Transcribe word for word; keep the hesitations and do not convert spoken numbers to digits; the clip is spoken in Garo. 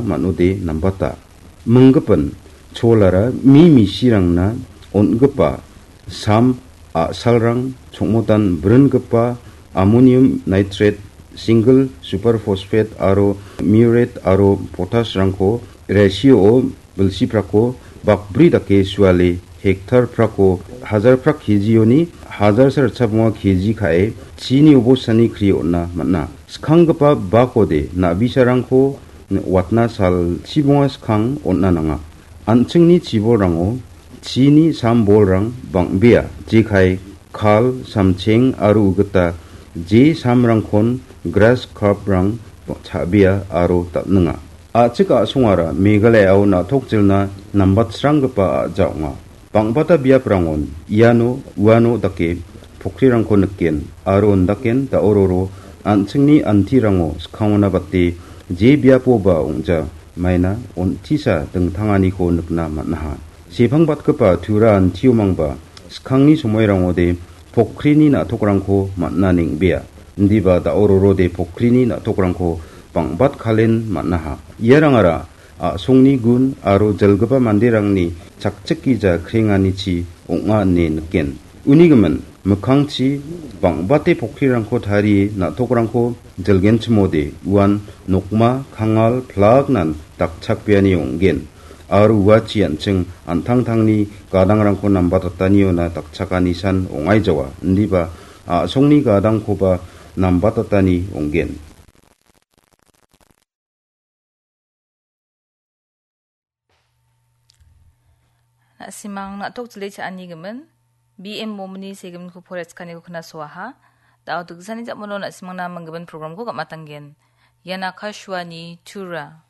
man·ode nambata. Minggipin cholara mi misirangna on·gipa sam a·salrang chongmotan bringipa ammonium nitrate, single superphosphate aro muriate aro potashrangko ratio-o bilsiprako bakbri dake suale hektar prako hajar prak kejioni hajar sa ritchabonga keji ka·e chini obostani kri on·a man·a. Skanggipa bakode na·bisarangko watna salchibonga skang on·a nanga. An·chingni chibolrango chini sam bolrang bang·bea, jekai, kal, samcheng aro ugita je samrangkon grass carp-rang cha·bea aro dal·ninga. A·chik a·songara Meghalaya-o na·tok jilna nambatsranggipa a·ja ong·a. Bang·bata biaprangon iano uano dake pokrirangko niken aro undaken da·ororo an·chingni antirango skangona bate je biapoba ong·ja maina on·tisa dingtanganiko nikna man·aha. Sepangbatgipa Tura antiomangba skangni somoirangode pokrini na·tokrangko man·na neng·bea. Indiba da·ororode pokrini na·tokrangko bang·batkalen man·aha. Iarangara a·songni gun aro jilgipa manderangni chakchikgija krenganichi ong·a ine niken. Uni gimin, mikkangchi bang·bate pokrirangko tarie na·tokrangko jilgenchimode uan nokma, kangal, plagnan dakchakbeani ong·gen. Aro uachi an·ching an·tangtangni gadangrangko nambatataniona dakchakanisan ong·aijawa. Indiba a·songni gadangkoba nambatatani ong·gen. Na·simang na·tok jile cha·ani gimin, B M Momini segiminko poretskaniko knasoaha. Da·o dikjani ja·mano na·simangna manggimin programko gam·atanggen. Ian Akashvani Tura.